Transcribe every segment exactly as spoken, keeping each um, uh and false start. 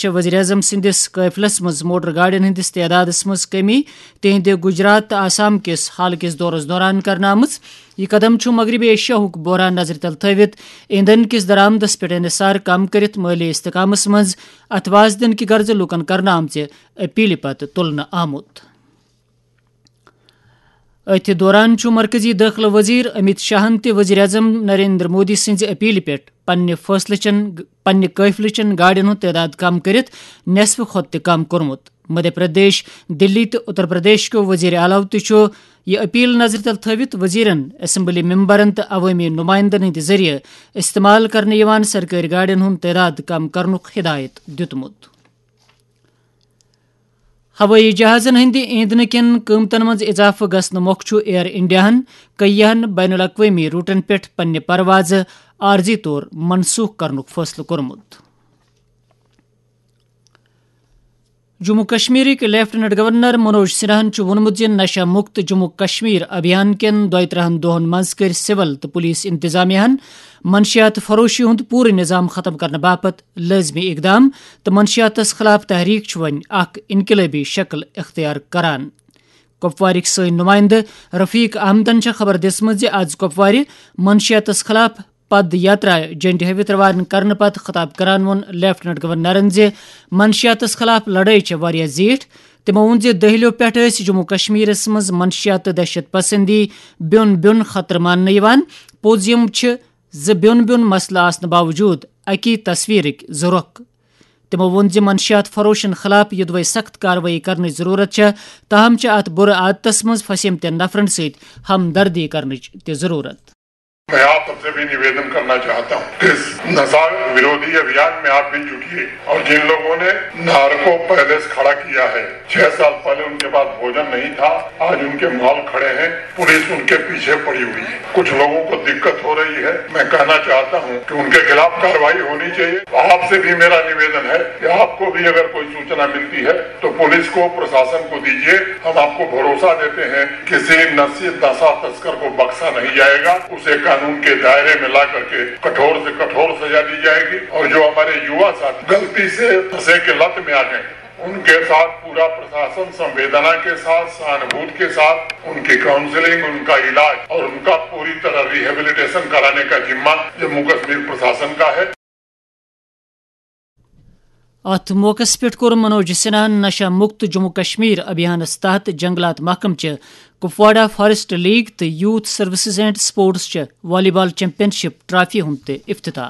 چھِ وزیر اعظم سٕنٛدِس قٲفلس منٛز موٹر گاڑٮ۪ن ہٕنٛدِس تعدادس منٛز کمی تِہنٛدِ گجرات تہٕ آسام کِس حالہٕ کِس دورس دوران کرنہٕ آمٕژ۔ یہِ قدم چھُ مغربی ایشیاہُک بحران نظرِ تل تھٲوِتھ ایندھن کِس درآمدس پٮ۪ٹھ انحصار کم کٔرِتھ مٲلی استحکامس منٛز اتھواز دِنہٕ کہِ غرضہٕ لوٗکن کرنہٕ آمژِ اپیلہِ پتہٕ تُلنہٕ آمُت۔ أتھۍ دوران چھُ مرکزی دٲخلہٕ وزیر امیت شاہن تہِ وزیر اعظم نریندر مودی سٕنٛزِ اپیلہِ پٮ۪ٹھ پننہِ فٲصلہٕ چٮ۪ن، پننہِ قٲفلہٕ چٮ۪ن گاڑٮ۪ن ہُنٛد تعداد کم کٔرِتھ نصفہٕ کھۄتہٕ تہِ کم کوٚرمُت۔ مدھیہ پردیش، دلی تہٕ اتر پردیش کیو وزیر اعلیٰ تہِ چھُ یہِ اپیل نظرِ تل تھٲوِتھ وزیرن، اسمبلی ممبرن تہٕ عوٲمی نمائندن ہٕنٛدِ ذٔریعہٕ استعمال کرنہٕ یِوان سرکٲرۍ گاڑٮ۪ن ہُنٛد تعداد کم کرنُک ہدایت دِیُتمُت۔ ہوٲیی جہازن ہٕنٛدِ ایندھنہٕ کٮ۪ن قۭمتن منٛز اضافہٕ گژھنہٕ مۄکھٕ چھُ ایئر انڈیاہن کیاہن بین الاقوٲمی روٹن پٮ۪ٹھ پننہِ پروازٕ عارضی طور منسوخ کرنُک فٲصلہٕ کوٚرمُت۔ جموں کشمیرٕکۍ لیفٹیننٹ گورنر منوج سنہاہن چھُ ووٚنمُت زِ نشہ مکت جموں کشمیر ابھیان کٮ۪ن دۄیہِ ترٕٛہن دۄہن منٛز کٔرۍ سول تہٕ پولیس انتظامیہ ہن منشیات فروشی ہُنٛد پوٗرٕ نظام ختم کرنہٕ باپتھ لٲزمی اقدام تہٕ منشیاتس خلاف تحریک چھُ وۄنۍ اکھ انقلٲبی شکل اختیار کران۔ کپوارٕکۍ سٲنۍ نمائندٕ رفیق احمدن چھےٚ خبر دِژمٕژ زِ از کپوارِ منشیاتس خلاف پد یاترا جنڈِ ہٲوِتھ روانہٕ کرنہٕ پتہٕ خطاب کران ووٚن لیفٹیننٹ گورنرن زِ منشیاتس خلاف لڑٲے چھےٚ واریاہ زیٖٹھ۔ تِمو ووٚن زِ دٔہلِیو پٮ۪ٹھ ٲسۍ جموں کشمیرس منٛز منشیات تہٕ دہشت پسندی بیوٚن بیوٚن خطرٕ ماننہٕ یِوان۔ پوٚز یِم چھِ زِ بیوٚن بیوٚن مسلہٕ آسنہٕ باوجود اکی تصویرٕکۍ زٕ رۄخ۔ تِمو ووٚن زِ منشیات فروشن خلاف یوٚدوے سخت کاروٲیی کرنٕچ ضروٗرت چھےٚ، تاہم چھِ اتھ بُرٕ عادتس منٛز پھسیمتٮ۪ن نفرن سۭتۍ ہمدردی کرنٕچ تہِ ضروٗرت۔ میں آپ سب سے بھی نویدن کرنا چاہتا ہوں کہ اس नशा विरोधी अभियान में आप भी जुटिए और जिन लोगों ने नार्को पैलेस खड़ा किया है, छह साल पहले उनके पास भोजन नहीं था, आज उनके मॉल खड़े हैं, पुलिस उनके पीछे पड़ी हुई है। कुछ लोगों को दिक्कत हो रही है, मैं कहना चाहता हूं कि उनके खिलाफ कार्रवाई होनी चाहिए। आपसे भी मेरा निवेदन है कि आपको भी अगर कोई सूचना मिलती है तो पुलिस को, प्रशासन को दीजिए। हम आपको भरोसा देते हैं, किसी नशे, नशा तस्कर को बख्शा नहीं जाएगा, उसे कानून के दायरे में ला करके कठोर से कठोर सजा दी जाएगी। और जो हमारे युवा साथी गलती से नशे के लत में आ गए, उनके साथ पूरा प्रशासन संवेदना के साथ, सहानुभूति के साथ उनकी काउंसलिंग, उनका इलाज और उनका पूरी तरह रिहेबिलिटेशन कराने का जिम्मा जम्मू कश्मीर प्रशासन का है। اتھ موقعس پٮ۪ٹھ کوٚر منوج سنہاہن نشہ مکت جموں کشمیر ابھیانس تحت جنگلات محکمہٕ چہِ کپواڑہ فاریسٹ لیگ تہٕ یوتھ سروسز اینڈ سپورٹس چہِ والی بال چیمپین شپ ٹرافی ہُنٛد تہِ افتتاح۔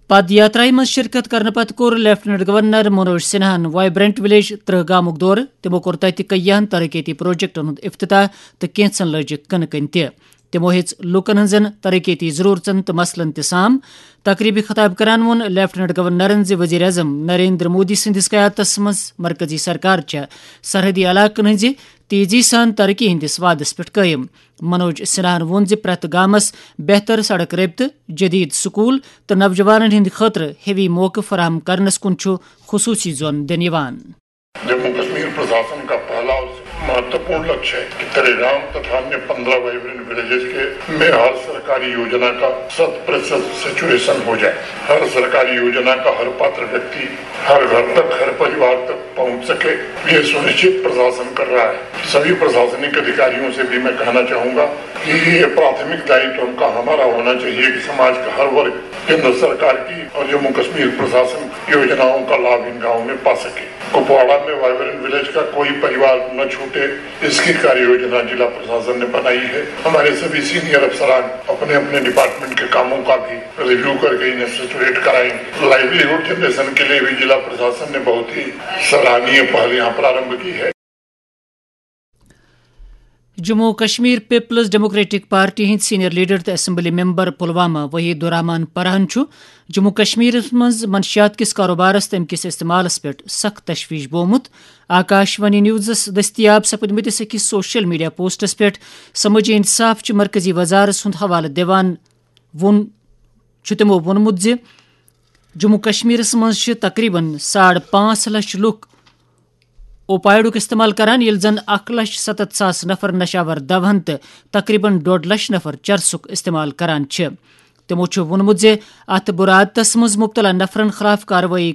پد یاترایہِ منٛز شرکت کرنہٕ پتہٕ کوٚر لیفٹیننٹ گورنر منوج سنہاہن وائبرنٹ ولیج ترہ گامُک دورٕ۔ تِمو کوٚر تتہِ کیاہن ترقیتی پروجیکٹن ہُنٛد افتتاح تہٕ کینٛژن لٲجِکھ کٕنہٕ کٔنۍ تہِ۔ تِمو ہیٚژ لوٗکن ہٕنٛزن ترقیتی ضروٗرژن تہٕ مسلن تہِ سام۔ تقریبہِ خطاب کران ووٚن لیفٹیننٹ گورنرن زِ وزیر اعظم نریندر مودی سٕنٛدِس قیادتس منٛز مرکزی سرکار چھےٚ سرحدی علاقن ہٕنٛزِ تیزی سان ترقی ہٕنٛدِس وعدس پٮ۪ٹھ قٲیِم۔ منوج سنہاہن ووٚن زِ پرٛٮ۪تھ گامس بہتر سڑک رٲبطہٕ، جدید سکول تہٕ نوجوانن ہٕنٛدِ خٲطرٕ ہیوی موقعہٕ فراہم کرنس کُن چھُ خصوٗصی زون دِنہٕ یِوان۔ जम्मू कश्मीर प्रशासन का पहला और महत्वपूर्ण लक्ष्य है कि तरेगाम तथा अन्य पन्द्रह वाइब्रेंट विलेजेस के में हर सरकारी योजना का शत प्रतिशत सैचुरेशन हो जाए, हर सरकारी योजना का हर पात्र व्यक्ति, हर घर तक, हर परिवार तक पहुंच सके, ये सुनिश्चित प्रशासन कर रहा है। सभी प्रशासनिक अधिकारियों से भी मैं कहना चाहूंगा कि ये प्राथमिक दायित्व हमका हमारा होना चाहिए कि समाज का हर वर्ग केंद्र सरकार की और जम्मू कश्मीर प्रशासन की योजनाओं का लाभ इन गांवों में पा सके। कुपवाड़ा में वाइब्रेंट विलेज का कोई परिवार न छूटे, इसकी कार्य योजना जिला प्रशासन ने बनाई है। हमारे सभी सीनियर अफसरान अपने अपने डिपार्टमेंट के कामों का भी रिव्यू करके इन्हें सैचुरेट कराएंगे। लाइवलीहुड जनरेशन के लिए भी जिला प्रशासन ने बहुत ही सराहनीय पहल यहाँ प्रारंभ की है। جموں و کشمیر پیپلز ڈیموکریٹک پارٹی ہٕنٛدۍ سینئر لیڈر تہٕ اسمبلی ممبر پلوامہ وحید الرحمان پرہن چھُ جموں و کشمیرس منٛز منشیات کِس کاروبارس تہٕ اَمہِ کِس استعمالس پٮ۪ٹھ سخت تشویش بومُت۔ آکاش وانی نیوزس دٔستیاب سپٕدمٕتِس أکِس سوشل میڈیا پوسٹس پٮ۪ٹھ سمٲجی انصاف چہِ مرکزی وزارس ہُنٛد حوالہٕ دِوان ووٚن، چھُ تِمو ووٚنمُت زِ جموں و کشمیرس منٛز چھِ تقریباً ساڑ پانٛژھ لچھ لُکھ اوپائیڈُک استعمال کران، ییٚلہِ زن اکھ لچھ ستتھ ساس نفر نشاور دوہن تہٕ تقریباً ڈوڈ لچھ نفر چرسُک استعمال کران چھِ۔ تِمو چھُ ووٚنمُت زِ اتھ بُرٕ عادتس منٛز مُبتلا نفرن خلاف کاروٲیی